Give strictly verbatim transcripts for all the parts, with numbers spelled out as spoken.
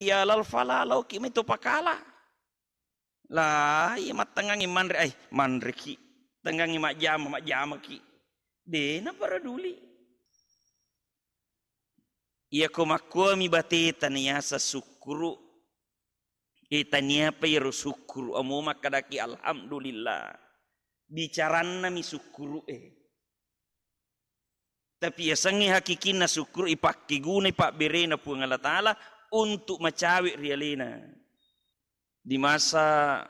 ya lal fala, laoki mai to pakala. La, iya mattengngangi manre, ai, manreki. Tengngangi majjama, majjamaki. De naparaduli. Iyako makkuami bateta niyaseng sukkuru, e, taniapa iyaro sukkuru, amo makkadaki alhamdulillah. Bicarannami sukkuru e. Tapi yasengnge hakikinna sukkuru ipakkegunai pabberena Puang Allah Ta'ala untuk macawe ri alena. Di masa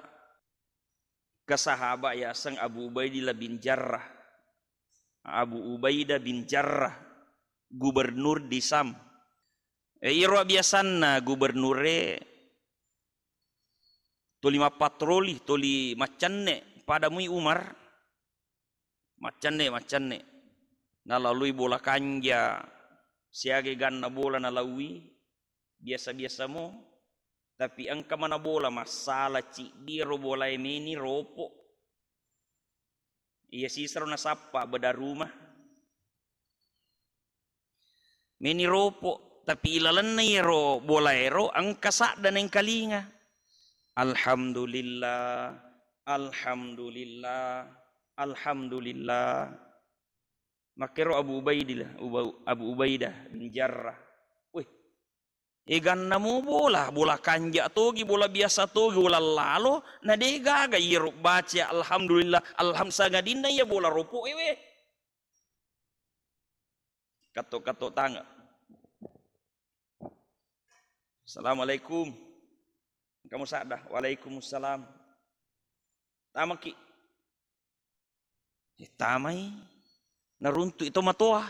ke sahabat yaseng Abu Ubaidillah bin Jarrah. Abu Ubaidah bin Jarrah, gubernur di Sam. E, iro biasanna gubernure toli mappatroli, toli maccenne, pada mui Umar. Maccenne, maccenne. Nalalui bola kanja, siaga ganna bola nalaui, biasa-biasa mo. Tapi engka mana bola massala ciddi ro bolae meni ropo. Iya sisero nasappa beda rumah. Meni ropo, tapi ilalenna iyaro bolaero engka sadda naengkalinga. Alhamdulillah, alhamdulillah, alhamdulillah. Makkero Abu Ubaidillah, Uba-, Abu Ubaidah bin Jarrah. Weh, eganna mo bola, bola kanja togi, bola biasa togi, bola lalo, na de gaga iyaro baca alhamdulillah, alham-, sangadinna iya bola ropo ewe. Katto-katto tanga. Assalamualaikum. Kamu sadda? Waalaikumsalam. Tamaki. Eh, tamai. Naruntu itu matoa.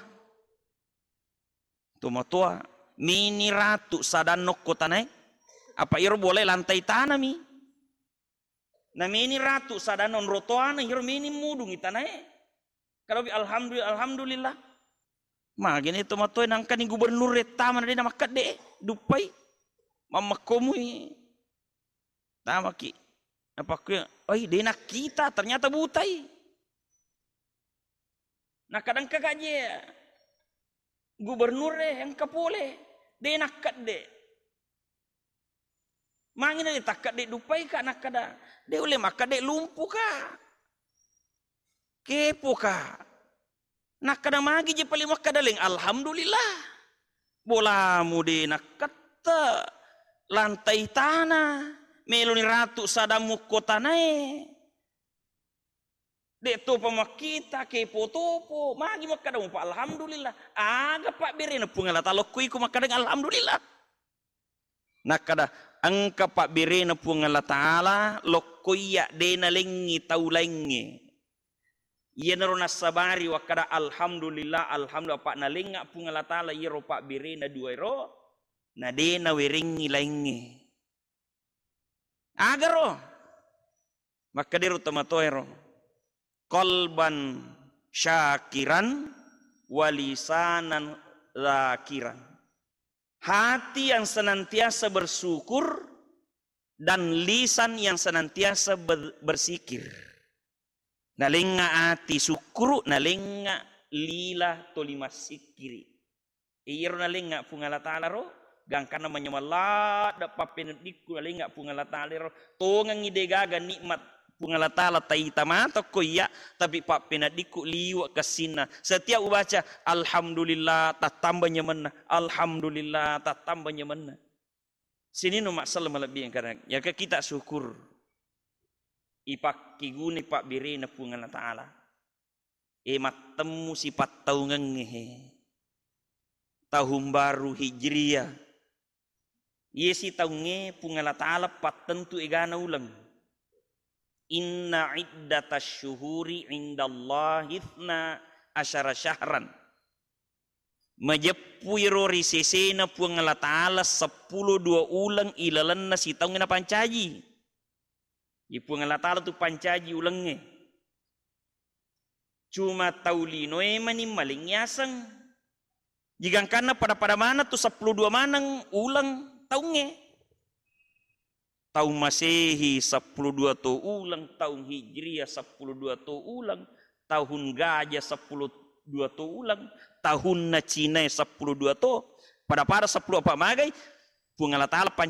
Itu matoa. Mini ratu sadanno kotanae. Apa iro boleh lantai tanami. Na meni ratu sadana onro toana, iyaro meni mudungi tanae. Kalobi alhamdulillah, alhamdulillah. Magene to matoe nangkani gubernur rettama na dena makkedde, duppai. Mammakkomui. Tamaki. Napakkue, "Oi, dena kita, ternyata butai." Nakkadangka gaje gubernur e engka pole, de nakkedde. Mangina de takkedde duppai ka nakkada, de ulle makkedde lumpu ka. Kepo ka. Nakkada magi je paling makkada leng, alhamdulillah. Bolamu de nakkette lantai tana, meloni ratu sadammu ko tanae. De topa makkita, kepo topo, magi makkada mupa alhamdulillah. Aga pabberena Puang Allah Taala ko iko makkada alhamdulillah. Nakkada, engka pabberena Puang Allah Taala lokko iya de nalengngi tau laingnge. Iyanaro nassabari wakkada alhamdulillah, alhamdulillah, apa nalengnga Puang Allah Taala iyaro pabberena dua ero, na de nawerengngi laingnge. Agaro? Makkedero tomatoero, qalban syakiran walisanan zakiran. Hati yang senantiasa bersyukur dan lisan yang senantiasa ber-, bersikir. Nalengnga ati sukkuru, nalengnga lila toli massikkiri. Iyaro nalengnga Puang Allah Taala ro, gangkanna manyameng ladde pappeneddikku nalengnga Puang Allah Taala ro. Tongengngi degaga nikmat Puang Allah Taala taita mata ko iya, tapi pappeneddikku liwe kessinna. Setiap ubaca, alhamdulillah, tattamba nyamenna. Alhamdulillah, tattamba nyamenna. Sininna massala malebbi engkana. Yaka kita syukur. Ipakkiguni pabberena Puang Allah Taala. E mattemmu sipattaungengnge he. Tahun baru Hijriah. Iye sitaungnge Puang Allah Taala pattentu egana uleng. Inna iddatasy syuhuri indallahi itsna asyara syahran. Majeppu iro ri sesena Puang Allah Taala seppulo dua uleng ilalenna sitaungnge napancaji. Ye Puang Allah Taala tu pancaji ulengnge. Cuma tau linoe mani maling yaseng. Jigangkanna pada-pada maneng tu seppulo dua maneng uleng taungnge. Taung Masehi seppulo dua to uleng, taung Hijriah seppulo dua to uleng, tahun gajah seppulo dua to uleng, tahunna Cinae seppulo dua to, pada-pada seppulo apa magai, Puang Allah Taala panca